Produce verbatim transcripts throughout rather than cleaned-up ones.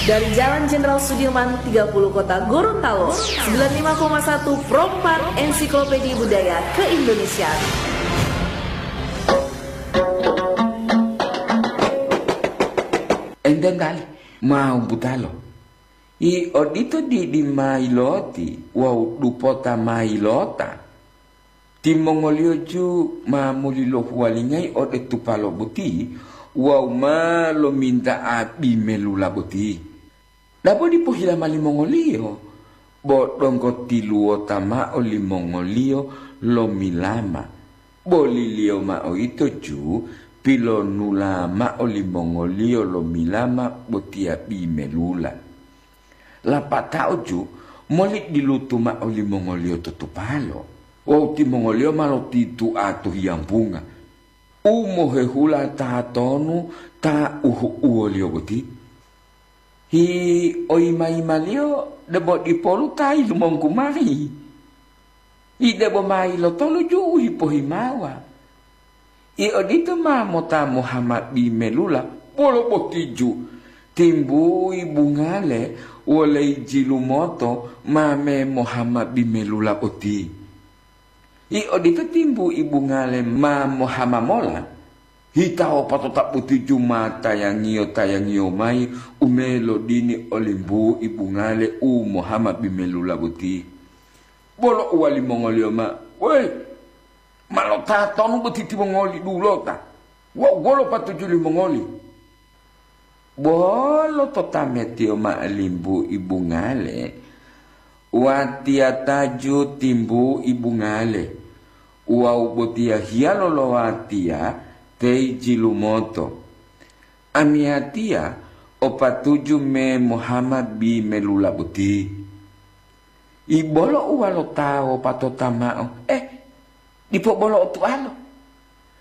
Dari Jalan Jenderal Sudirman tiga puluh Kota Gorontalo, sembilan lima koma satu Pro empat Ensiklopedia Budaya Keindonesiaan. Enten tali, mau butalo. I odito didi mailoti wawu dupota mailota. Timongoliyo ju ma muli lohuwalingayi ode tupalo boti wawu ma lominta'a bimelula boti. Dabo dipo hilama limongoliyo, bo donggo tiluwota mao limongoliyo lomilama. Boliliyo mao ito ju pilonula mao limongoliyo lomilama botiya bimelula. Lapatao ju moli dilutu mao limongoliyo to tupalo, wawu timongoliyo ma lotitua to hiyambunga u mohehula tatonu ta uhu'uwoliyo boti. Hi oyima-yimaliyo debo dipolu ta yilumonggu mayi. Ide bo ma ilotolu ju u hipohimawa. I odito ma mota mohama bimelula, bolo boti ju, timbu'i bungale wolei jilumoto ma me mohama bimelula boti. I odito timbu'i bungale ma mohama mola, hitawo patota boti ju ma tayangiyo-tayangiyo mayi u me lodini olimbu'i bungale u mohama bimelula boti. Bolo uwalimongoliyo mao, "Weyi, ma lotatonu boti timongoli dulota? Wawu wolo patuju limongoli?" Bolo to tametiyo mao limbu'i bungale, watiya taju timbu'i bungale, wawu botiya hiyalo lo watiya teiji lumoto. Amiyatiya o patuju me mohama bimelula boti. Ibolo uwalo ta wopatota mao, eh, dipo bolo otualo.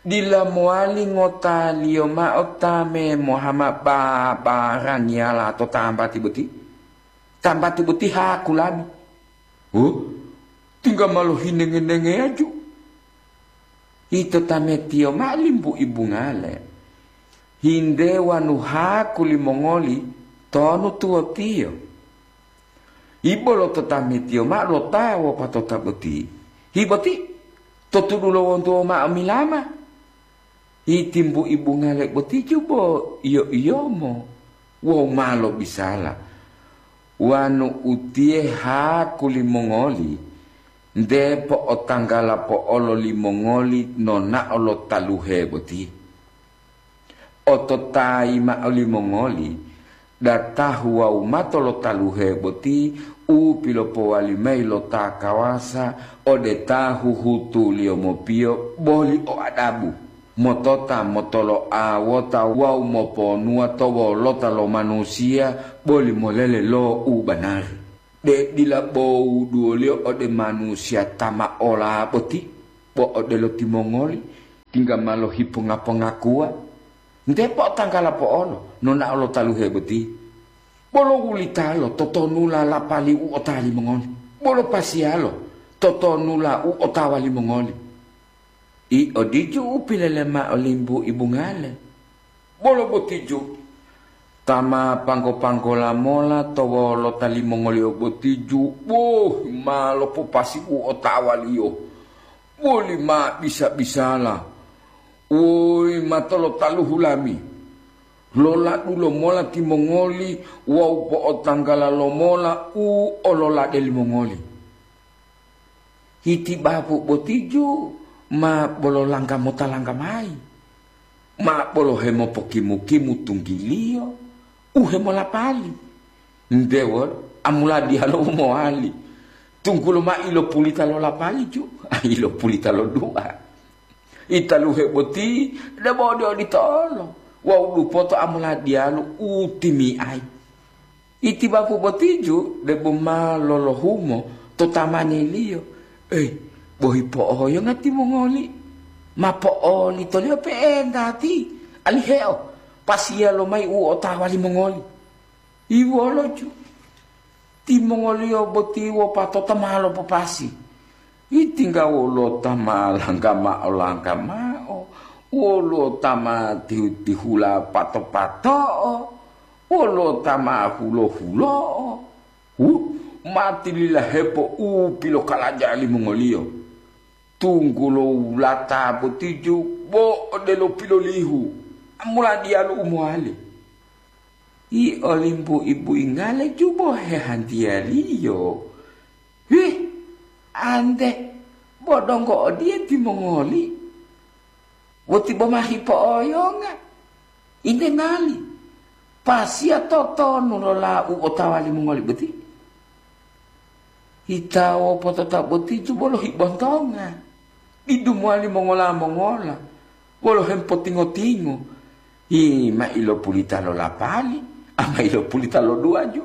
Dila mowali ngotaliyo mao ta me mohama babarangiyala to tambati boti. Tambati boti haku lami. Huh? Tingga ma lohinenge-nengeyaju. Ito tametiyo mao limbu'i bungale. Hinde wanu haku limongoli tonu tuwotiyo. Ibolo to tametiyo mao lo ta wopatota boti. Hi boti, to tudu lo wontuwo mao milama. Hi timbu'i bungale boti ju bo iyo-iyomo wawu ma lobisala. Wanu utiye haku limongoli, nte po'otanggala po'olo limongoli nonao lo taluhe boti. Ototayi mao limongoli, datahu wawu mato lo taluhe boti u pilopowali mayi lo ta kawasa ode ta huhutuliyo mopiyo boli o adabu, motota motolo'a wota wawu moponuwa to wolota lo manusiya boli molele lo u banari. De dila bo wuduwoliyo ode manusiya ta ma ola boti, bo odelo timongoli, tingga ma lohiponga-pongakuwa. Nte po'otanggala po'olo nonao lo taluhe boti. Bolo wulitalo totonula lapali u ota limongoli? Bolo pasiyalo totonula u otawa limongoli? I odiju u pilele mao limbu'i bungale. Bolo botiju, ta ma panggo-panggola mola to wolota limongoliyo botiju, boh, ma lopopasi u otawaliyo. Boli ma bisa-bisala, woyi mato lo taluhu lami, loladu lomola timongoli wawu po'otanggala lomola u ololade limongoli. Hitibapu botiju ma bolo langga mota langga mayi, ma bolo hemopokimu-kimu tunggiliyo u hemolapali. Ndewo, amuladiya lo u mowali, tunggulo ma ilopulita lo lapaliju, ilopulita lo dua. Italuhe boti debo ode odito olo, wawu dupoto amuladiyalu u timi'ai. Itibapu botiju debo ma lolohumo to tamaniliyo. Eh, bohi po'oyonga timongoli, ma po'olitoliyo pe'entati, aliheo pasiya lomayi u otawa limongoli. Iwoloju, timongoliyo boti wopatota ma lopopasi. Itingga wolo ta ma langga mao langga mao, wolo ta ma tihu-tihula pato-pato'o, wolo ta ma hulo-hulo'o. Hu, ma tililahepo u pilokalaja limongoliyo. Tunggulo wulata botiju bo odelo pilolihu, amula diyalu u mowali. Yi olimbu-ibu ingale jubo hehantiyaliyo. Hih, ante, bo donggo odiye timongoli? Woti bo ma hipo'oyonga. Inte ngali, pasiya totonu lo lau otawa limongoli boti? Hitawo potota boti jubo lohibontonga, didu mowali mongola-mongola, wolo hemopotingo-tingo, hi ma ilopulita lo lapali, a ma ilopulita lo duwaju.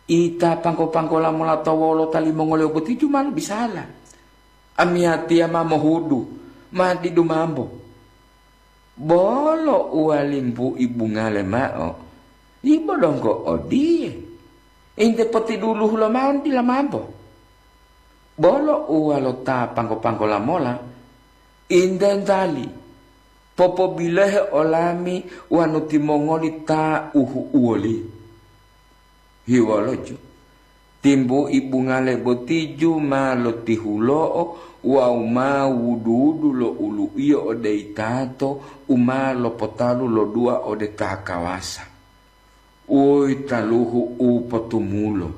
Ita panggo-panggola mola to wolota limongoliyo boti ju ma lobisala. Amiyatiya ma mohudu, ma didu mambo. Bolo uwalimbu ibungale mao, ibo donggo odiye, inte potiduluhu lomao dila mambo. Bolo uwalo ta panggo-panggola mola, intentali, popobilohe olami wonu timongoli ta uhu'uwoli. Hiwoloju, timbu ibungale botiju ma lotihulo'o wawu ma wudu-wudu lo ulu'iyo ode yitato u ma lopotalu lo dua ode ta kawasa. Uwi taluhu u potumulo,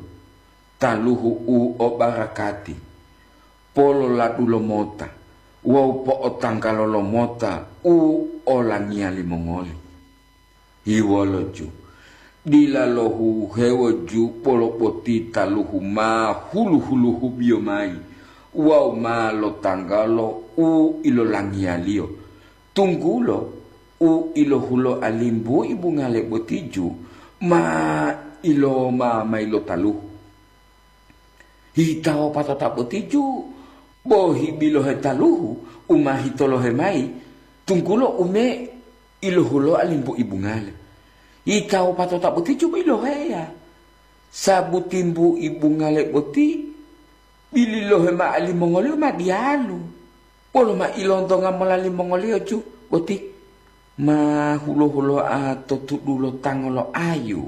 taluhu u o barakati, pololadu lomota wawu po'otanggalo lomota u olangiya limongoli. Hiwoloju, dila lohuhewo ju bolo boti taluhu ma hulu-huluhubiyo mayi wawu ma lotanggalo u ilolangiyaliyo, tunggulo u ilohuloa limbu ibungale botiju ma iloma mayi lo taluhu. Hitawo patota botiju, bo hibilohe taluhu u ma hitolohe mayi, tunggulo ume ilohuloa limbu ibungale. Hitawo patota botiju bo iloheya, sabu timbu ibungale boti bililohe mao limongoliyo ma diyalu, wolo ma ilontonga mola limongoliyo ju boti ma hulo-huloa to tudulo tango lo ayu.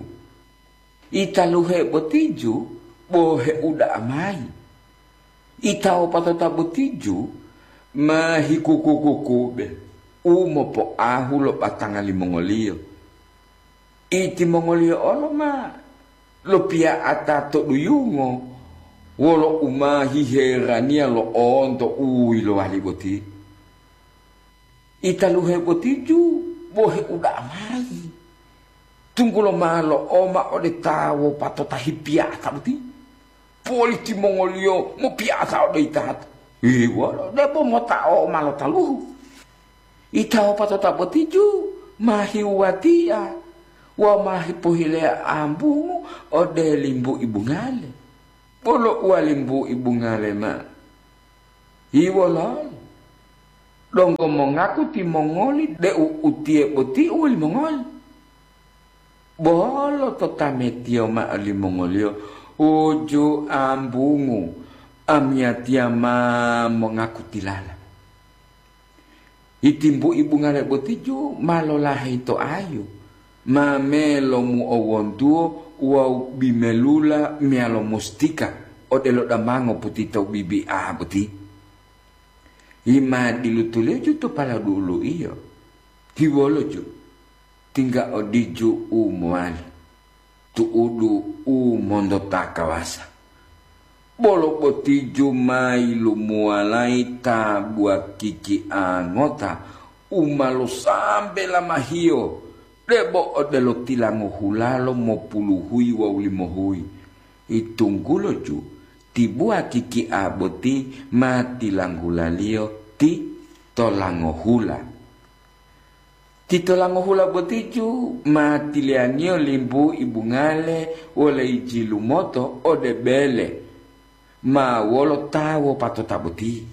Italuhe botiju bo heuda'a mayi. Itawopatota botiju ma hikuku-kukube u mopoahu lo batanga limongoliyo. Itimongoliyo olo ma lopiya'ata to duyungo wolo u ma hiheraniya lo'onto u yilowali boti. Italuhe botiju bo heuda'a mayi, tunggulo ma lo'oma ode ta wopatota hipiya'ata boti. Poli timongoliyo mopiya'ata ode yitato. Iwolo debo mota'o ma lo taluhu. Ita wopatota botiju ma hiwuwatiya wawu ma hipohileya ambungu ode limbu ibungale. Bolo uwa limbu ibungale ma. Hiwololo, donggo mongaku timongoli deu utiye boti u wolimongoli? Bolo to tametiyo mao limongoliyo, uju ambungu, amiyatiya ma mongaku tilala. Itimbu ibungale botiju ma lolaheyi to ayu, ma melomu'owontuwo wawu bimelula meyalo mustika odelo damango putita u bibi'a boti. Yima dilutuliyo ju to paladu'ulu'iyo, hiwolo ju, tingga odiju u mowali, tu'udu u monto ta kawasa. Bolo botiju ma yilumuwalayi tabuwa kiki'a ngota u ma losambe lamahiyo, debo odelo tilango hulalo mopuluhuyi wawu limohuyi. Itunggulo ju tibuwa kiki'a boti ma tilanggulaliyo ti tolangohula. Ti tolangohula botiju ma tiliyangiyo limbu ibungale wole yijilumoto ode bele ma wolo ta wopatota boti.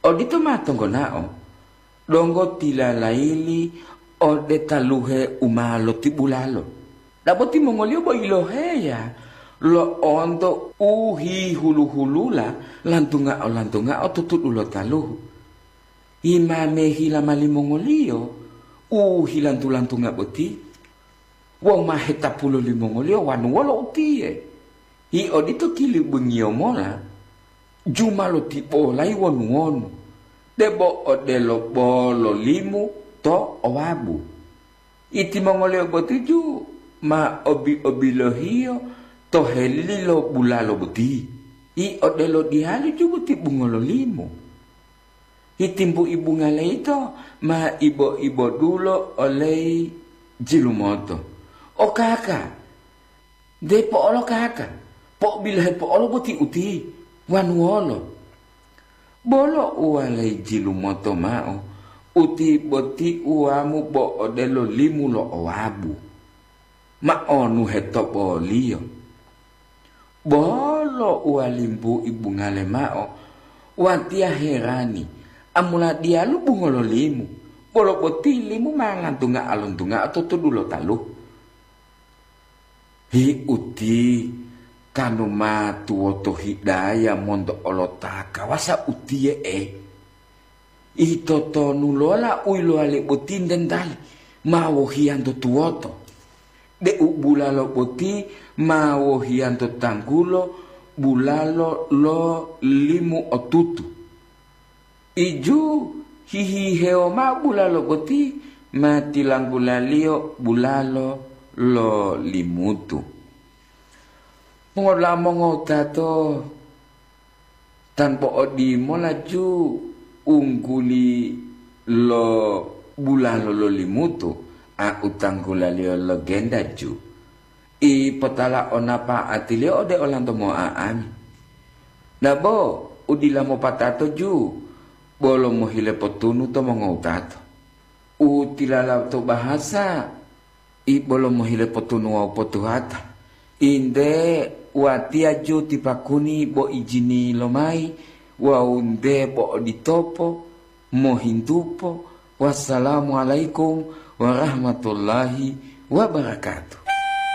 Odito ma tonggonao, donggo tilalayili ode taluhe u ma lotibulalo. Dabo timongoliyo bo yiloheya lo'onto u hihulu-hulula lantunga-, lantungao to tudu lo taluhu. Imame hila malimongoliyo u hilantu-lantunga boti, wawu ma hetapulo limongoliyo wanu wolo utiye. Hi odito kilibungiyo mola, juma lotibolayi wonu-wonu, debo odelo bolo limu to owabu. Itimongoliyo botuju ma obi-obilohiyo to helili lo bulalo boti, i odelo diyalu jubuti bungolo limu. Itimbu-ibunga leyito ma ibo-ibodulo oleyi jilumoto. O kaka, depo olo kaka, po'obilohe po'olo boti uti, wanuwolo. Bolo uwalayi jilumoto mao, uti boti uwamu bo odelo limu lo owabu. Ma onuhe to boliyo. Bolo uwalimbu ibungale mao, watiya herani, amula diyalu bungolo limu, bolo boti limu ma ngantunga alontunga to tudu lo talu. Hi uti, tanu ma tuwoto hidaya monto olota kawasa utiye e. Ito tonu lola u yilowali boti ntentali ma wohiyanto tuwoto, de'u bulalo boti ma wohiyanto tanggulo bulalo lo limu otutu. Iju hihihewo mao bulalo boti ma tilanggulaliyo bulalo lo limutu. Mongola mongowutato, tanpa odimola ju ungguli lo bulalo lo limutu, a u tanggulaliyo lo genta ju. I potala onapa'atiliyo ode olanto mo'a'ami. Nabo u dila mopatato ju, bolo mohile potunu to mongowutato. U tilala to bahasa, i bolo mohile potunu wawu potuhata. Inde watiya ju tipakuni bo ijini lomayi wawu nde bo oditopo, mohintupo. Wassalamualaikum warahmatullahi wabarakatuh.